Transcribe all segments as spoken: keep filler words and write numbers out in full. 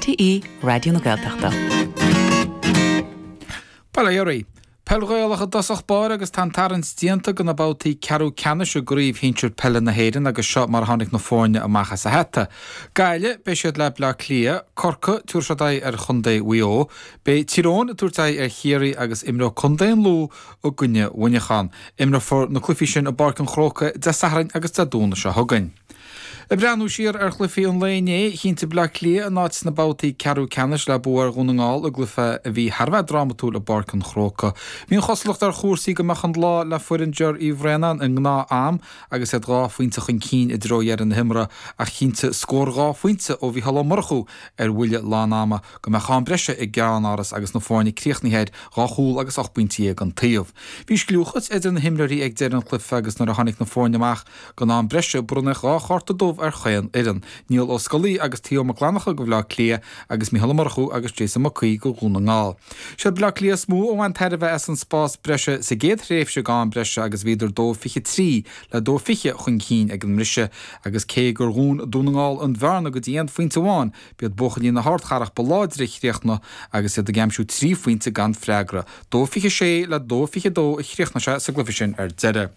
R T E Raidió na Gaeltachta. Bail ó Dhia oraibh. Peil Ghaelach i dtosach báire agus tá an tarraingt déanta do na babhtaí ceathrú ceannais i gcraobh shinsir peile na hÉireann agus seo mar a tháinig na foirne amach as a hata. Gaillimh, beidh siad le Bleá Cliath, Corcaigh, tabharfaidh siad aghaidh ar Chontae Mhaigh Eo, beidh Tír Eoghain ag tabhairt aghaidh ar Chiarraí agus imreoidh Contae an Lú i gcoinne Mhuineacháin. Imreofar na cluichí sin i bPáirc an Chrócaigh Dé Sathairn agus Dé Domhnaigh seo chugainn. Ag breathnú siar ar chluichí an lae inné, chinntigh Bleá Cliath a n-áit sna babhtaí ceathrú ceannais le bua ar Dhún na nGall i gcluiche a bhí thar a bheith drámatúil i bPáirc an Chrócaigh. Bhí an chosúlacht ar chúrsaí go mbeadh an lá le foireann Ger Uí Bhraonáin i ngnáth-am agus iad dhá phointe chun cinn i dtreo dheireadh na himeartha ach chinntigh scór dhá phointe ó Mhícheál Ó Murchú ar bhuille lán-ama go mbeadh am breise i gceannáras agus na foirne críochnaithe ar dhá chúl agus ocht bpointe déag an taobh. Bhí scliúchas idir na himreoirí ag deireadh an chluiche agus nuair a tháinig na foirne amach don am breise bronnadh dhá chárta dubh ar chaon fhoireann. Niall Ó Scolaí agus Theo Mac Fhlannchadha do Bhleá Cliath agus Mícheál Ó Murchú agus Jason Mac Aoidh do Dhún na nGall. Siad Bleá Cliath is mó a bhain tairbhe as an spás breise sa gcéad thréimhse d'am breise agus bhíodar dó fiche trí le dó fiche chun cinn ag an mbriseadh agus cé gur dhún Dún na nGall an bhearna go dtí aon phointe amháin, b'iad buachaillí na hardchathrach ba láidre a chríochnaigh agus iad ag aimsiú trí phointe gan freagra. Dó fiche sé le dó fiche dó a chríochnaigh sé sa gcluiche sin ar deireadh.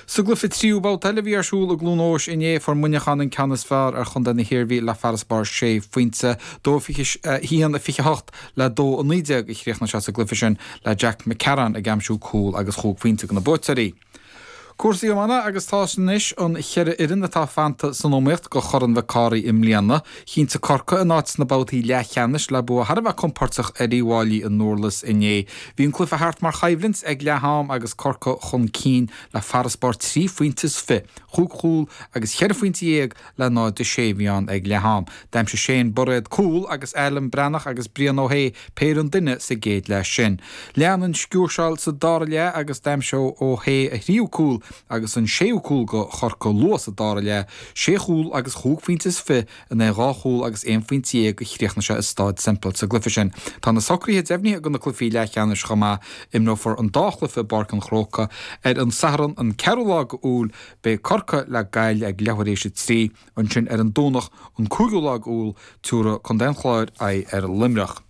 Sa gcluiche tríú babhta eile a bhí ar siúl i gCluain Eois inné fuair Muineachán an ceann is fearr ar Chontae na hIarmhí le farasbarr sé phointe dó fiche haon a fiche hocht le dó a naoi déag a chríochnaigh sé sa gcluiche sin le Jack McCarron ag aimsiú cúl agus chúig phointe do na buaiteoirí. Cúrsaí iomána agus tá anois an cheithre fhoireann atá fanta san iomaíocht do Chorn Mhic Cárthaigh i mbliana. Chinntigh Corcaigh a n-áit sna babhtaí leathcheannais le bua thar a bheith compordach ar Uíbh Fhailí i nDurlas inné. Bhí an cluiche thart mar choimhlint ag leath-am agus Corcaigh chun cinn le farasbarr trí phointe is fiche, chúig chúl agus cheithre phointe dhéag le náid a sé bhí ann ag leath-am. D'aimsigh Shane Bairéad cúl agus Alan Breathnach agus Brian Ó hAodha péire an duine sa gcéad leath sin. Lean an sciúrsáil sa dara leath agus d'aimsigh Ó hAodha a thríú cúl agus an séú cúl do Chorcaigh luath sa dara leath, sé chúl agus chúig phointe is fiche in aghaidh dhá chúl agus aon phointe déag a chríochnaigh sé i Staid Semple sa gcluiche sin. Tá na socruithe deimhnithe do na cluichí leathcheannais chomh maith imreofar an dá chluiche i bPáirc an Chrócaigh ar an Satharn an ceathrú lá d'Iúil beidh Corcaigh le Gaillimh ag leathuair tar éis a trí ansin ar an Domhnach an cúigiú lá d'Iúil tabharfaidh Contae an Chláir aghaidh ar Luimneach.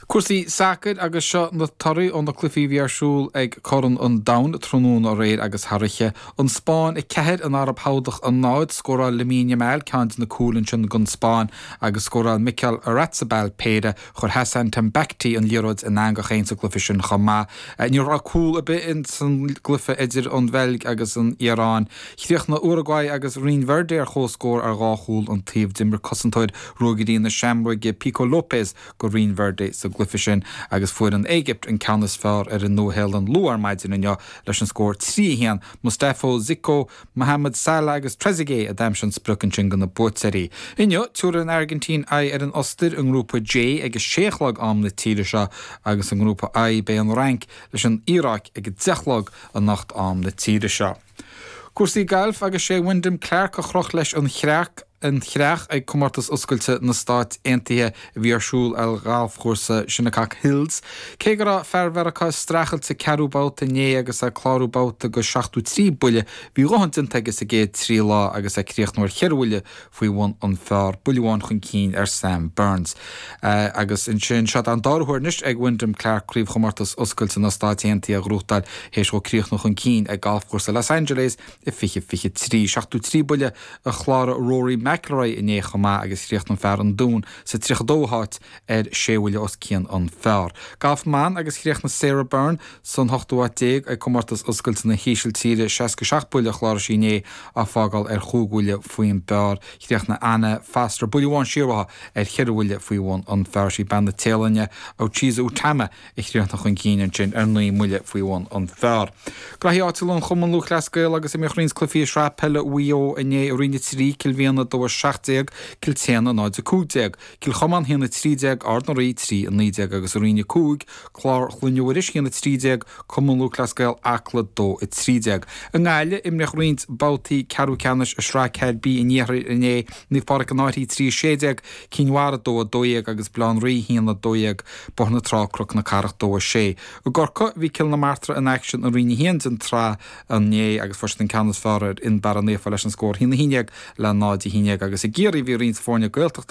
Cúrsaí sacair agus seo na torthaí ó na cluichí a bhí ar siúl ag Corn an Domhain tráthnóna aréir agus thar oíche. An Spáinn a ceathair an Araib Shádach a náid scóráil Lamine Yamal ceann de na cúil ansin don Spáinn agus scóráil Mikel Oyarzabal péire chuir Hassan Tambakti an liathróid in eangach féin sa gcluiche sin chomh maith. Ní raibh cúl ar bith in san gcluiche idir an Bheilg agus an Iaráin. Chríochnaigh Uruguay agus Rinn Verde ar comhscór ar dhá chúl an taobh d'imir cosantóir Ruagairí na Seamróige Pico Lopez do Rinn Verde sa gcluiche sin agus fuair an Éigipt an ceann is fearr ar an Nua-Shéalainn luath ar maidin inniu leis an scór trí a haon Mustafa Zico, Mohamed Salah agus Trezeguet a d'aimsigh an sprioc ansin do na buaiteoirí. Inniu tabharfaidh an Airgintín aghaidh ar an Ostair i ngrúpa J ag a sé a chlog am na tíre seo agus i ngrúpa I beidh an Fhrainc leis an Iaráic ag a deich a chlog anocht am na tíre seo. Cúrsaí gailf agus sé Wyndham Clark a chroch leis an chreach an chreach ag comórtas oscailte na Stát Aontaithe a bhí ar siúl ar ghalfchúrsa Shinnecock Hills. Cé go raibh fear Mheiriceá streachailt sa ceathrú babhta inné agus ag clárú babhta go seachtó trí buille, bhí a dhóthain déanta aige sa gcéad trí lá agus é críochnú ar cheithre bhuille faoi bhun an phar buille amháin chun cinn ar Sam Burns. Uh, agus ansin seo an dara huair anois ag Wyndham Clark craobhchomórtas oscailte na Stát Aontaithe a ghnóthachtáil théis dó críochnú chun cinn ag galfchúrsa Los Angeles i fiche fiche trí seachtó trí buille a chláraigh Rory McIlroy inné chomh maith agus chríochnaigh fear an Dúin sa tríocha dóú háit ar sé bhuille os cionn an phar. Galf ban agus chríochnaigh Sarah Byrne san hochtú háit déag ag comórtas oscailte na hÍsiltíre seasca seacht buille a chláraigh sí inné á fágáil ar chúig bhuille faoin bpar chríochnaigh Anna Foster buille amháin siar uaithi ar cheithre bhuille faoi bhun an phar sí bean na Téalainne Ochiza Utama a chríochnaigh chun cinn ansin ar naoi mbuille faoi bhun an phar. Graí áitiúil an Chumann Lúthchleas Gael agus imríodh roinnt cluichí sraith peile Mhaigh Eo inné i Roinn a trí Cill Mhiana dó a seacht déag, Cill tSéadhna náid a cúig déag, Cill Chomáin haon a trí déag, Ard na Rí trí a naoi déag agus i Roinn a cúig, Clár Chluain Mhuiris haon a trí déag, Cumann Lúthchleas Gael Acla dó a trí déag. I nGaillimh imríodh roinnt babhtaí ceathrú ceannais i sraith ceathair B an iarthair inné Naomh Pádraig an Fhairche trí a sé déag, Cinn Mhara dó a dó dhéag agus Baile Átha an Rí haon a dó dhéag, Bóthar na Trá Cnoc na Cathrach dó a sé. I gCorcaigh bhí Cill na Martra in aicsean i Roinn a haon den tsraith inné agus fuair siad an ceann is fearr ar Fhionnbarra Naofa leis an scór haon a haon déag le náid a haon déag agus i gCiarraí bhí roinnt foirne Gaeltachta